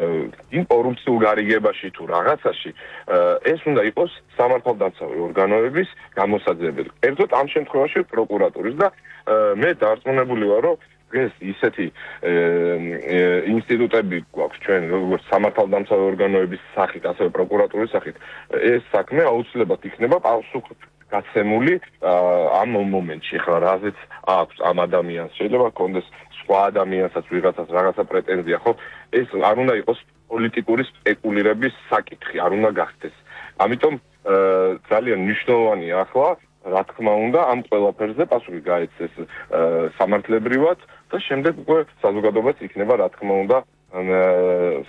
იმ კორუფციულ გარიგებაში თუ რაღაცაში ეს უნდა იყოს სამართალდამცავი ორგანოების გამოსაძიებელი. კერძოდ ამ შემთხვევაში პროკურატურის და მე დარწმუნებული ვარ, რომ ეს ისეთი ინსტიტუტები გვაქვს ჩვენ როგორც სამართალდამცავი ორგანოების სახით, ასევე პროკურატურის სახით, ეს საქმე აუცილებლად იქნება პასუხგაცემული ამ მომენტში. ხა რაზეც აქვს ამ ადამიანს შეიძლება კონდეს სხვა ადამიანსაც ვიღაცას რაღაცა პრეტენზია, ხო? ეს არ უნდა იყოს პოლიტიკური სპეკულირების საკითხი, არ უნდა გახდეს. ამიტომ ძალიან მნიშვნელოვანია ახლა, რა თქმა უნდა, ამ ყველაფერზე პასუხი გაეცეს სამართლებრივად და შემდეგ უკვე საზოგადოებაც იქნება, რა თქმა უნდა,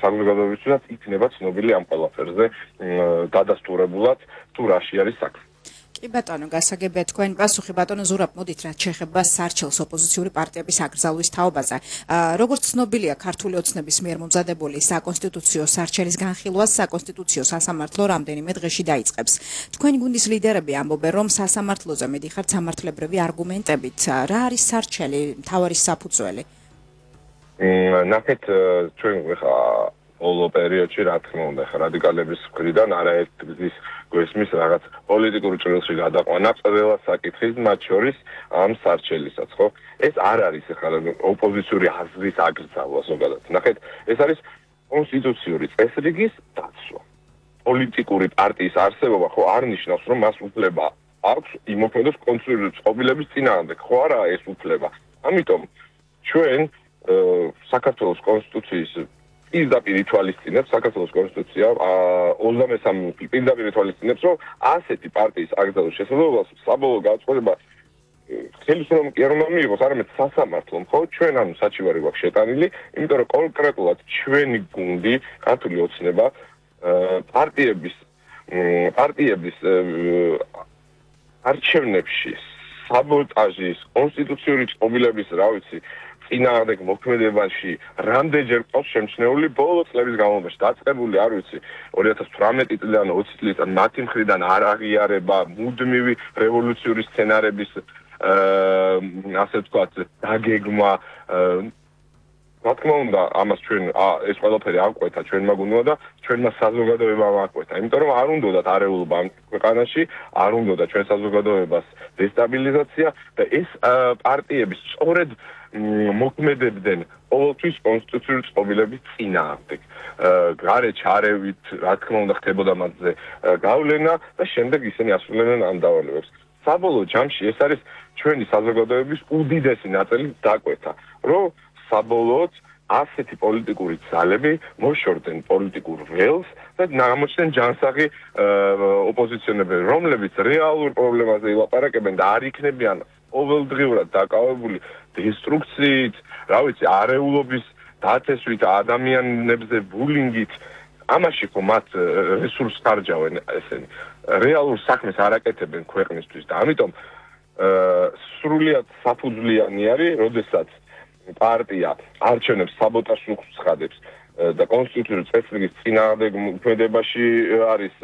საზოგადოებისთვისაც იქნება ცნობილი ამ ყველაფერზე დადასტურებულად თუ რაში არის საქმე. კი ბატონო, გასაგებია თქვენი პასუხი. ბატონო ზურაბ, მოდით რაც შეეხება სარჩელს ოპოზიციური პარტიების აკრძალვის თაობაზე. როგორც ცნობილია, ქართული ოცნების მიერ მომზადებული საკონსტიტუციო სარჩელის განხილვას საკონსტიტუციო სასამართლო რამდენიმე დღეში დაიწყებს. თქვენი გუნდის ლიდერები ამბობენ, რომ სასამართლოზე მიდიხართ სამართლებრივი არგუმენტებით. რა არის სარჩელი, მთავარი საფუძველი? ნახეთ, ჩვენ ხა όλო პერიოდში რა თქმა უნდა ხა რადიკალების მხრიდან არაერთი გზის გვესმის რაღაც პოლიტიკური ჭრილში გადაყვანა ყველა საკითხის, მათ შორის ამ სარჩელისაც, ხო? ეს არ არის ხა ოპოზიციური აზრის აკრძალვა ზოგადად. ნახეთ, ეს არის კონსტიტუციური წესრიგის დაცვა. პოლიტიკური პარტიის არსებობა ხო არ ნიშნავს, რომ მას უფლება აქვს იმოქმედოს კონსტიტუციური წყობილების წინააღმდეგ, ხო არაა ეს უფლება. ამიტომ ჩვენ საქართველოს კონსტიტუციის პირდაპირ ითვალისწინებს საქართველოს კონსტიტუცია 23 პირდაპირ ითვალისწინებს, რომ ასეთი პარტიის აკრძალვის შესაძლებლობას საბოლოო გადაწყვეტება ხელისუფლებამ კი არ უნდა მიიღოს, არამედ სასამართლომ, ხო? ჩვენ ანუ საჩივარი გვაქვს შეტანილი, იმიტომ რომ კონკრეტულად ჩვენი გუნდი, ქართული ოცნება, პარტიების არჩევნებში საბოტაჟის, კონსტიტუციური წყობილების, რა ვიცი, წინააღმდეგ მოქმედებაში რამდენჯერ ყავს შემჩნეული ბოლო წლების განმავლობაში დაწყებული, არ ვიცი, 2018 წლიდან 20 წლიდან მათი მხრიდან არ აღიარება მუდმივი რევოლუციური სცენარების ასე ვთქვათ, დაგეგმა. რა თქმა უნდა, ამას ჩვენ ეს ყველაფერი აღკვეთა ჩვენმა გუნდმა და ჩვენმა საზოგადოებამ აღკვეთა. იმიტომ რომ არ უნდათ არეულობა ამ ქვეყანაში, არ უნდათ ჩვენ საზოგადოებას დესტაბილიზაცია და ეს პარტიები სწორედ მოქმედებდნენ ყოველთვის კონსტიტუციური წყობილების წინააღმდეგ. გარეჩ არევით, რა თქმა უნდა, ხდებოდა მათზე გავლენა და შემდეგ ისინი ასრულებდნენ ამ დავალებებს. საბოლოო ჯამში ეს არის ჩვენი საზოგადოების უდიდესი ნაწილი დაკვეთა, რომ საბოლოოდ ასეთი პოლიტიკური ძალები მოშორდნენ პოლიტიკურ ველს და გამოჩნდნენ ჯანსაღი ოპოზიციონერები, რომლებიც რეალურ პრობლემაზე ილაპარაკებენ და არ იქნებიან ყოველდღიურად დაკავებული დესტრუქციით, რა ვიცი, არეულობის დაწესვით, ადამიანებზე ბულინგით. ამაში ხო მათ რესურსს ხარჯავენ ესენი. რეალურ საქმეს არ აკეთებენ ქვეყნისთვის და ამიტომ სრულიად საფუძვლიანი არის, როდესაც პარტია არჩევნებს საბოტაჟს უცხადებს და კონსტიტუციური წესრიგის წინააღმდეგ მოქმედებაში არის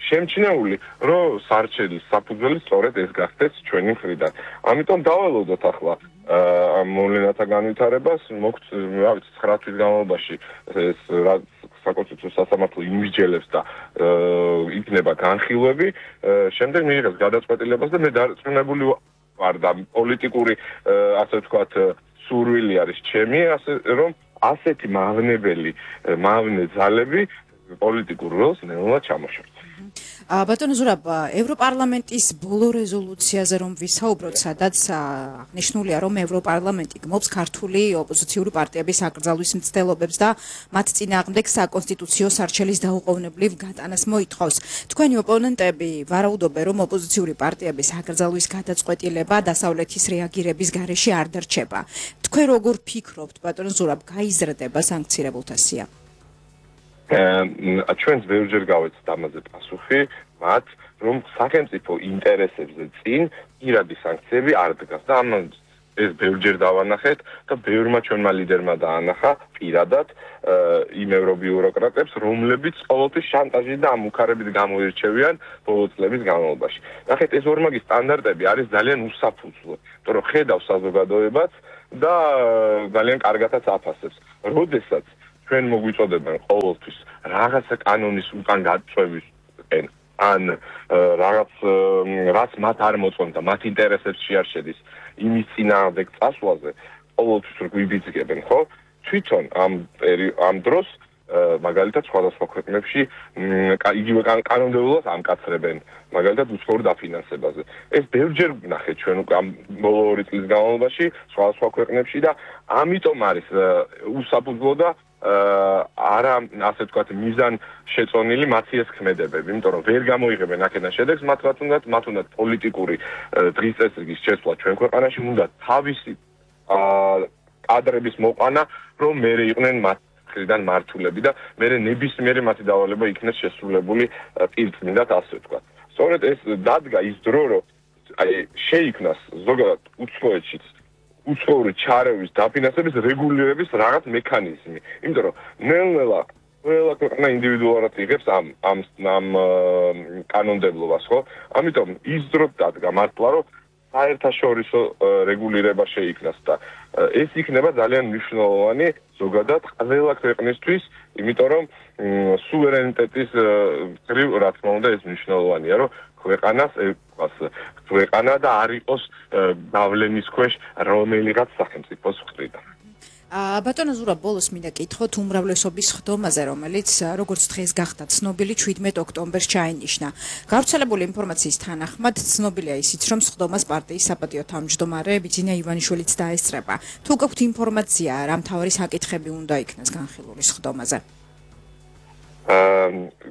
შემჩნეული, რომ სარჩელის საფუძველი სწორედ ეს გახდეს ჩვენი მხრიდან. ამიტომ დაველოდოთ ახლა ამ მოვლენათა განვითარებას, მოგვთ, რა ვიცი, 9 თვის განმავლობაში ეს საკონსტიტუციო სასამართლო იმსჯელებს და იქნება განხილვები, შემდეგ მიიღებს გადაწყვეტილებას და მე დარწმუნებული ვარ და პოლიტიკური ასე ვთქვათ სურვილი არის ჩემი, რომ ასეთი მავნე ძალები პოლიტიკურ როლს ნელა ჩამოშორდა. ბატონო ზურაბ, ევროპარლამენტის ბოლო რეზოლუციაზე რომ ვისაუბროთ, სადაც აღნიშნულია, რომ ევროპარლამენტი გმობს ქართული ოპოზიციური პარტიების აკრძალვის მცდელობებს და მათ წინააღმდეგ საკონსტიტუციო სარჩელის დაუყოვნებლივ გატანას მოითხოვს. თქვენი ოპონენტები ვარაუდობენ, რომ ოპოზიციური პარტიების აკრძალვის გადაწყვეტილება დასავლეთის რეაგირების გარეშე არ დარჩება. თქვენ როგორ ფიქრობთ, ბატონო ზურაბ, გაიზრდება სანქცირებულთა სია? ჩვენს ბევრჯერ გავეცეთ ამაზე პასუხი, მათ რომ სახელმწიფო ინტერესებზე წინ პირადი სანქციები არ დგას და ამან ეს ბევრჯერ დავანახეთ და ბევრმა ჩვენმა ლიდერმა დაანახა პირადად იმ ევრობიუროკრატებს, რომლებიც ყოველთვის შანტაჟით და ამუქარებით გამოირჩევიან ბოლო წლების განმავლობაში. ნახეთ, ეს ორმაგი სტანდარტები არის ძალიან უსაფუძვლო, იმიტომ რომ ხედავს საზოგადოებაც და ძალიან კარგათაც აფასებს. როდესაც ჩვენ მოგვიწოდებენ ყოველთვის რაღაცა კანონის უკან გაწევის ან რაღაც რაც მათ არ მოწონდა, მათ ინტერესებში არ შედის იმის წინააღმდეგ წასვლაზე ყოველთვის გვიბიძგებენ, ხო? თვითონ ამ დროს მაგალითად სხვადასხვა ქვეყნებში იგივე კანონმდებლობას ამკაცრებენ, მაგალითად უცხოურ დაფინანსებაზე. ეს ბევრჯერ ვნახეთ ჩვენ ამ ბოლო 2 წლის განმავლობაში სხვადასხვა ქვეყნებში და ამიტომ არის უსაფუძვლო და არა ასე ვთქვათ მიზან შეწონილი მათი ეს ქმედებები, იმიტომ რომ ვერ გამოიღებენ აქედან შედეგს მათ უნდათ პოლიტიკური დღის წესრიგის შეცვლა ჩვენ ქვეყანაში, უნდა თავისი კადრების მოყვანა, რომ მერე იყვნენ მათ მხრიდან მართულები და მერე ნებისმიერი მათი დავალება იქნეს შესრულებული პირწმინდად, ასე ვთქვათ. სწორედ ეს დადგა ის დრო, რომ შეიქმნას ზოგადად უცხოეთშიც უცხოური ჩარევის დაფინანსების რეგულირების რაღაც მექანიზმი. იმიტომ რომ ნელ-ნელა ყველა ქვეყანა ინდივიდუალურად იღებს ამ კანონმდებლობას, ხო? ამიტომ ის დრო დადგა მართლა, რომ საერთაშორისო რეგულირება შეიქმნას და ეს იქნება ძალიან მნიშვნელოვანი ზოგადად ყველა ქვეყნისთვის, იმიტომ რომ სუვერენიტეტის გრივ რა თქმა უნდა ეს მნიშვნელოვანია, რომ ქვეყანა და არ იყოს გავლენის ქვეშ რომელიღაც სახელმწიფოს მხრიდან. ბატონო ზურაბ, ბოლოს მინდა კითხოთ უმრავლესობის ხდომაზე, რომელიც როგორც დღეს გახდა ცნობილი 17 ოქტომბერს ჩაინიშნა. გავრცელებული ინფორმაციის თანახმად ცნობილია ისიც, რომ ხდომას პარტიის საპატიო თავმჯდომარე ბიძინა ივანიშვილიც დაესწრება. თუ გაქვთ ინფორმაცია, რა მთავარი საკითხები უნდა იქნას განხილული ხდომაზე?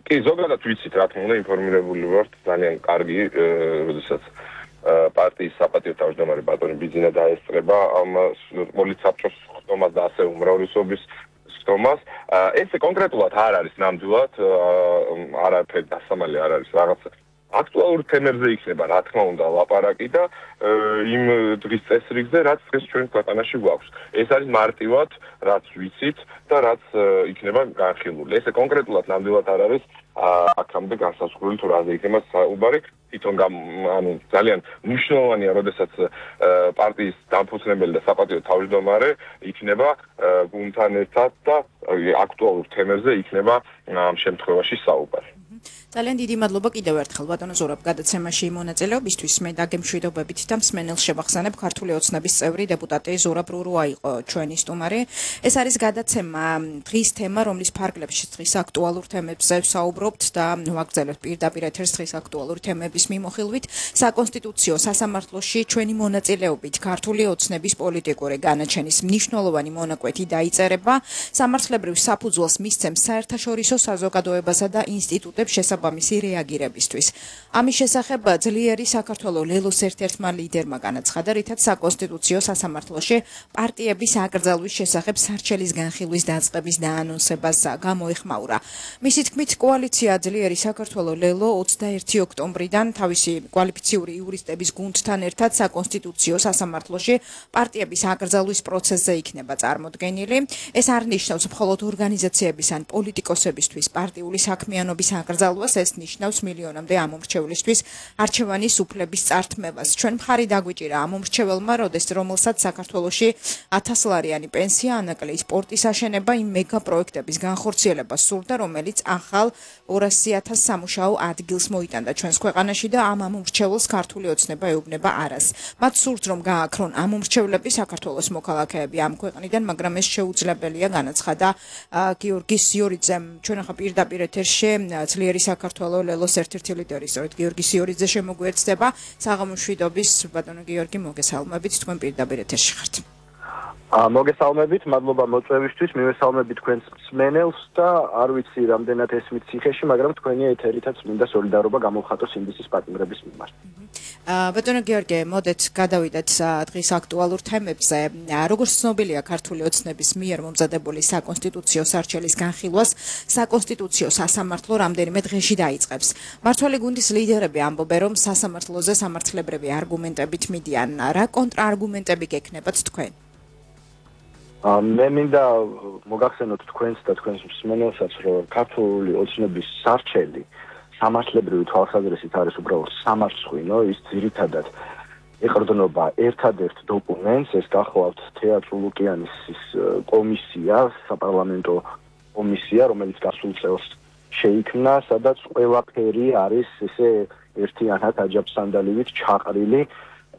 კი, ზოგადად ვიცით, რა თქმა უნდა, ინფორმირებული ვართ ძალიან კარგი, როდესაც პარტიის საპატიო თავმჯდომარე ბატონი ბიძინა დაესწრება ამ პოლიტსაბჭოს ხდომას და ასე უმრავლესობის ხდომას. ეს კონკრეტულად არ არის ნამდვილად, არაფერი დასამალი არ არის რაღაც აქტუალურ თემებზე იქნება, რა თქმა უნდა, ლაპარაკი და იმ დღის წესრიგზე, რაც დღეს ჩვენ ქვეყანაში გვაქვს. ეს არის მარტივად, რაც ვიცით და რაც იქნება განხილული. ეს კონკრეტულად ნამდვილად არ არის აქამდე განსაზღვრული თუ რაზე იქნება საუბარი. თვითონ ძალიან მნიშვნელოვანია, როდესაც პარტიის დამფუძნებელი და საპატიო თავმჯდომარე იქნება გუნდთან ერთად და აქტუალურ თემებზე იქნება ამ შემთხვევაში საუბარი. ძალიან დიდი მადლობა კიდევ ერთხელ ბატონო ზურაბ გადაცემაში მონაწილეობისთვის. მე დაგემშვიდობებით და მსმენელს შევახსენებ, ქართული ოცნების წევრი დეპუტატი ზურაბ რურუა იყო ჩვენი სტუმარი. ეს არის გადაცემა დღის თემა, რომლის ფარგლებში დღის აქტუალურ თემებზე ვსაუბრობთ და ვაგრძელებთ პირდაპირ ეთერს დღის აქტუალური თემების მიმოხილვით. საკონსტიტუციო სასამართლოში ჩვენი მონაწილეობით ქართული ოცნების პოლიტიკური განაჩენის მნიშვნელოვანი მონაკვეთი დაიწერება. სამართლებრივ საფუძველს მისცემს საერთაშორისო საზოგადოებასა და ინსტიტუტებს შესაბამისი რეაგირებისთვის. ამის შესახებ ძლიერი საქართველოს ლელოს ერთ-ერთმა ლიდერმა განაცხადა, რითაც საკონსტიტუციო სასამართლოში პარტიების აკრძალვის შესახებ სარჩელის განხილვის დაწყების დაანონსებას გამოეხმაურა. მისი თქმით, კოალიცია ძლიერი საქართველოს ლელო 21 ოქტომბრიდან თავისი კვალიფიციური იურისტების გუნდთან ერთად საკონსტიტუციო სასამართლოში პარტიების აკრძალვის პროცესზე იქნება წარმოდგენილი. ეს არ ნიშნავს მხოლოდ ორგანიზაციების ან პოლიტიკოსებისთვის პარტიული საქმიანობის აკრძალვას, ეს ნიშნავს მილიონამდე ამომრჩევლისთვის არჩევანის უფლების წართმევას. ჩვენ მხარი დაგვიჭირა ამომრჩეველმა, რომელსაც საქართველოში 1000 ლარიანი პენსია, ანაკლი სპორტის აშენება, იმ მეგა პროექტების განხორციელება სურდა, რომელიც ახალ 200,000 სამუშაო ადგილს მოიტანდა ჩვენს ქვეყანაში და ამ ამომრჩეველს ქართული ოცნება ეუბნება არას. მათ სურთ, რომ გააქრონ ამომრჩევლები საქართველოს მოქალაქეები ამ ქვეყნიდან, მაგრამ ეს შეუძლებელია, განაცხადა გიორგი სიორიძემ. ჩვენ ახლა პირდაპირ ეთერში ძლიერი საქართველოს ლელოს ერთ-ერთი ლიდერი, სწორედ გიორგი სიორიძე შემოგვიერთდება. საღამომშვიდობის ბატონო გიორგი, მოგესალმებით, თქვენ პირდაპირ ეთერში ხართ. მოგესალმებით, მადლობა მოწვევისთვის, მივესალმებით თქვენს მსმენელს და არ ვიცი რამდენად ესმით ციხეში, მაგრამ თქვენი ეთერითაც მინდა სოლიდარობა გამოვხატოს ინდისის პარტნიორების მიმართ. ბატონო გიორგი, მოდეთ გადავიდეთ დღის აქტუალურ თემებზე. როგორც ცნობილია, ქართული ოცნების მიერ მომზადებული საკონსტიტუციო სარჩელის განხილვას საკონსტიტუციო სასამართლო რამდენიმე დღეში დაიწყებს. მმართველი გუნდის ლიდერები ამბობენ, რომ სასამართლოზე სამართლებრივი არგუმენტებით მიდიან. რა კონტრარგუმენტები გექნებათ თქვენ? მე მინდა მოგახსენოთ თქვენს და თქვენს მსმენელსაც, რომ ქართული ოცნების სარჩელი სამართლებრივი თვალსაზრისით არის უბრალოდ სამარცხვინო, ის ძირითადად ეყრდნობა ერთადერთ დოკუმენტს, ეს გახლავთ თეატრო ლუკიანის კომისია, საპარლამენტო კომისია, რომელიც გასულ წელს შეიქმნა, სადაც ყველაფერი არის ესე ერთიანად აჯაფსანდალივით ჩაყრილი,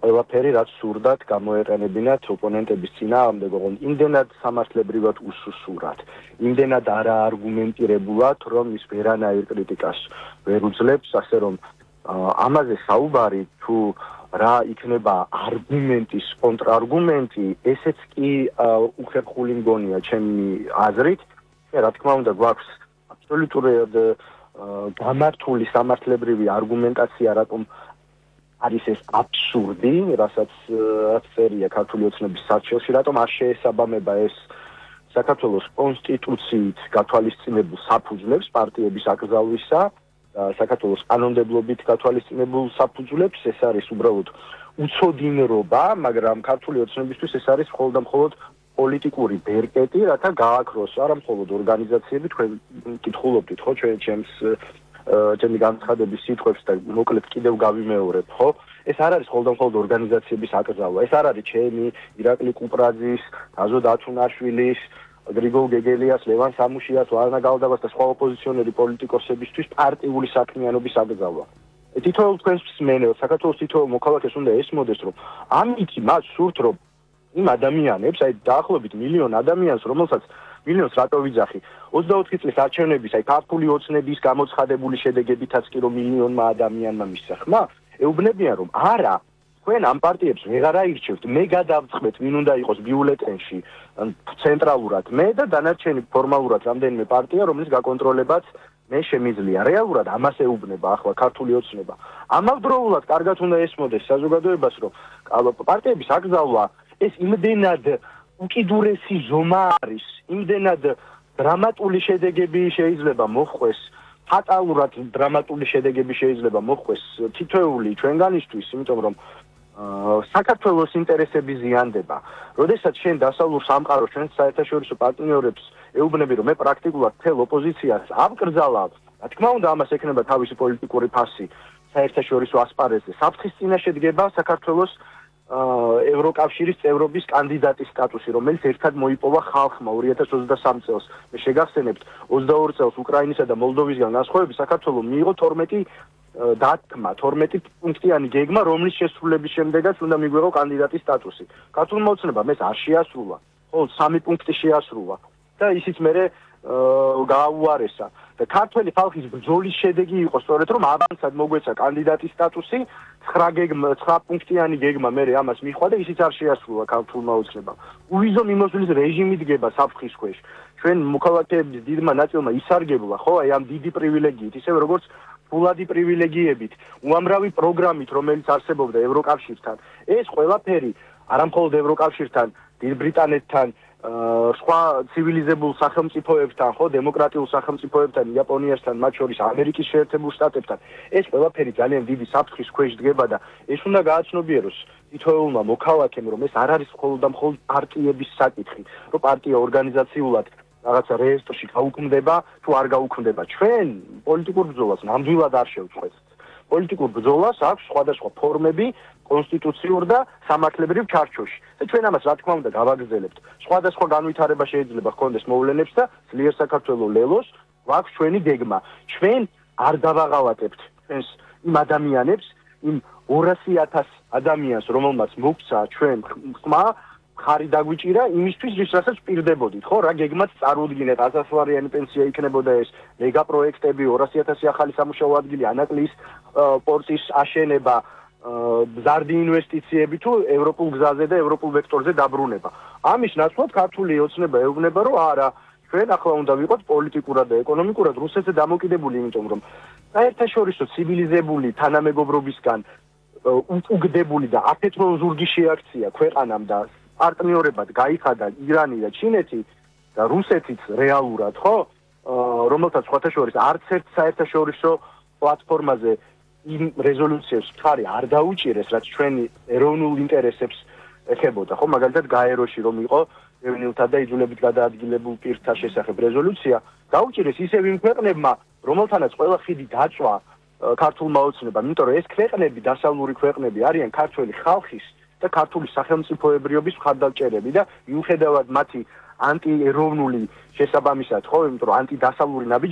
ყველაფერი რაც სურდათ გამოეყენებინათ ოპონენტების წინააღმდეგ, ოღონდ იმდენად სამართლებრივად უსუსურად, იმდენად არაარგუმენტირებულად, რომ ის ვერანაირ კრიტიკას ვერ უძლებს, ასე რომ ამაზე საუბარი თუ რა იქნება არგუმენტის კონტრარგუმენტი, ესეც კი უხერხული მგონია ჩემი აზრით. რა თქმა უნდა, გვაქვს აბსოლუტურად გამართული სამართლებრივი არგუმენტაცია, რატომ არის ეს აბსურდი, რასაც წერია ქართული ოცნების საჩელში, რატომ არ შეესაბამება ეს საქართველოს კონსტიტუციით გათვალისწინებულ საფუძვლებს პარტიების აკრძალვისა, საქართველოს კანონმდებლობით გათვალისწინებულ საფუძვლებს, ეს არის უბრალოდ უცოდინრობა, მაგრამ ქართული ოცნებისთვის ეს არის მხოლოდ და მხოლოდ პოლიტიკური ბერკეტი, რათა გააქროს არა მხოლოდ ორგანიზაციები, თქვენ კითხულობდით, ხო, ჩემი განცხადების სიტყვებს და მოკლედ კიდევ გავიმეორებ, ხო? ეს არ არის მხოლოდ და მხოლოდ ორგანიზაციების აკრძალვა, ეს არ არის ჩემი, ირაკლი კუპრაძის, დაზო დათუნაშვილის, გრიგოლ გეგელიას, ლევან სამუშიას, ვარნა გალდაბას და სხვა ოპოზიციონერი პოლიტიკოსებისთვის პარტიული საქმიანობის აკრძალვა. თითოეულ თქვენს მსმენელს, საქართველოს თითოეულ მოქალაქეს უნდა ესმოდეს, რომ ამით მას სურთ, რომ იმ ადამიანებს, აი დაახლოებით მილიონ ადამიანს, რომელსაც მილიონს რატო ვიძახი 24 წლის არჩევნების, აი ქართული ოცნების გამოცხადებული შედეგებითაც კი რომ მილიონმა ადამიანმა მისცა ხმა, ეუბნებიან რომ არა, თქვენ ამ პარტიებს ვეღარ აირჩევთ, მე გადავწყვეტ, ვინ უნდა იყოს ბიულეტენში, ცენტრალურად მე და დანარჩენი ფორმალურად რამდენიმე პარტია, რომლის გაკონტროლებაც მე შემიძლია. რეალურად ამას ეუბნება ახლა ქართული ოცნება. ამავდროულად კარგად უნდა ესმოდეს საზოგადოებას, რომ პარტიების აკრძალვა ეს იმდენად უკიდურესი ზომა არის, იმდენად დრამატული შედეგები შეიძლება მოხდეს, ფატალურად დრამატული შედეგები შეიძლება მოხდეს თითოეული ჩვენგანისთვის, იმიტომ რომ საქართველოს ინტერესები ზიანდება. როდესაც შენ დასავლურ სამყაროს ჩვენ საერთაშორისო პარტნიორებს ეუბნები, რომ მე პრაქტიკულად მთელ ოპოზიციას ავკრძალავ, რა თქმა უნდა, ამას ექნება თავისი პოლიტიკური ფასი საერთაშორისო ასპარეზზე. საფრთხის წინაშე დგება საქართველოს ევროკავშირის წევრობის კანდიდატის სტატუსი, რომელიც ერთად მოიპოვა ხალხმა 2023 წელს. მე შეგახსენებთ, 22 წელს უკრაინისა და მოლდოვისგან განსხვავებით საქართველოს მიიღო 12 დათქმა, 12 პუნქტიანი გეგმა, რომლის შესრულების შემდეგაც უნდა მიგვეღო კანდიდატის სტატუსი. ქართულმა ოცნებამ ეს არ შეასრულა, მხოლოდ 3 პუნქტი შეასრულა და ისიც მერე გააუარესა. და ქართველი ხალხის ბრძოლის შედეგი იყო სწორედ რომ ავანსად მოგვეცა კანდიდატის სტატუსი, 9 პუნქტიანი გეგმა მერე ამას მიხვა და ისიც არ შეასრულა ქართულმა ოცნებამ. უვიზო მიმოსვლის რეჟიმი დგება საფრთხის ქვეშ. ჩვენ მოქალაქეების დიდმა ნაწილმა ისარგებლა, ხო, აი ამ დიდი პრივილეგიით, ისევე როგორც ფულადი პრივილეგიებით, უამრავი პროგრამით, რომელიც არსებობდა ევროკავშირთან. ეს ყველაფერი არა მხოლოდ ევროკავშირთან, დიდ ბრიტანეთთან, სხვა ცივილიზებულ სახელმწიფოებთან, ხო, დემოკრატიულ სახელმწიფოებთან, იაპონიასთან, მათ შორის ამერიკის შეერთებულ შტატებთან. ეს ყველაფერი ძალიან დიდი საფრთხის ქვეშ დგება და ეს უნდა გააცნობიეროს თითოეულმა მოქალაქემ, რომ ეს არ არის მხოლოდ და მხოლოდ პარტიების საკითხი, რომ პარტია ორგანიზაციულად რაღაცა რეესტრში გაუქმდება, თუ არ გაუქმდება. ჩვენ პოლიტიკურ ბრძოლას ნამდვილად არ შევწყვეტთ. პოლიტიკურ ბრძოლას აქვს სხვადასხვა ფორმები კონსტიტუციურ და სამართლებრივ ჩარჩოში. და ჩვენ ამას რა თქმა უნდა გავაგრძელებთ. სხვადასხვა განვითარება შეიძლება ჰქონდეს მოვლენებს და ძლიერ საქართველოს ლელოს გვაქვს ჩვენი გეგმა. ჩვენ არ დავაღალატებთ ჩვენს იმ ადამიანებს, იმ 200,000 ადამიანს, რომელმაც მოგცა ჩვენ ხმა, ხარი დაგვიჭირა იმისთვის, რასაც პირდებოდით, ხო? რა გეგმაც წარუდგინეთ, 1000-ლარიანი პენსია იქნებოდა ეს, მეგა პროექტები, 200,000 ახალი სამუშაო ადგილი, ანაკლის პორტის აშენება, მზარდი ინვესტიციები თუ ევროპულ გზაზე და ევროპულ ვექტორზე დაბრუნება. ამის ნაცვლად ქართული ოცნება ეუბნება, რომ არა, ჩვენ ახლა უნდა ვიყოთ პოლიტიკურად და ეკონომიკურად რუსეთზე დამოკიდებული, იმიტომ რომ საერთაშორისო ცივილიზებული თანამეგობრობისგან უკუგდებული და აფეთრო ზურგი შეაქცია ქვეყანამ და პარტნიორებად გაიხადა ირანი და ჩინეთი და რუსეთიც რეალურად, ხო, რომელთაც სხვათა შორის არც ერთ საერთაშორისო პლატფორმაზე იმ რეზოლუციებს მხარი არ დაუჭირეს, რაც ჩვენი ეროვნულ ინტერესებს ეხებოდა, ხო, მაგალითად გაეროში რომ იყო ევნილთა და იძულებით გადაადგილებულ პირთა შესახებ რეზოლუცია, დაუჭირეს ისევ იმ ქვეყნებმა, რომელთანაც ყველა ხიდი დაწვა ქართულმა ოცნებამ, იმიტომ რომ ეს ქვეყნები, დასავლური ქვეყნები არიან ქართველი ხალხის და ქართული სახელმწიფოებრიობის მხარდაჭერები და მიუხედავად მათი ანტიეროვნული შესაბამისად ხო, იმიტომ რომ ანტიდასავლური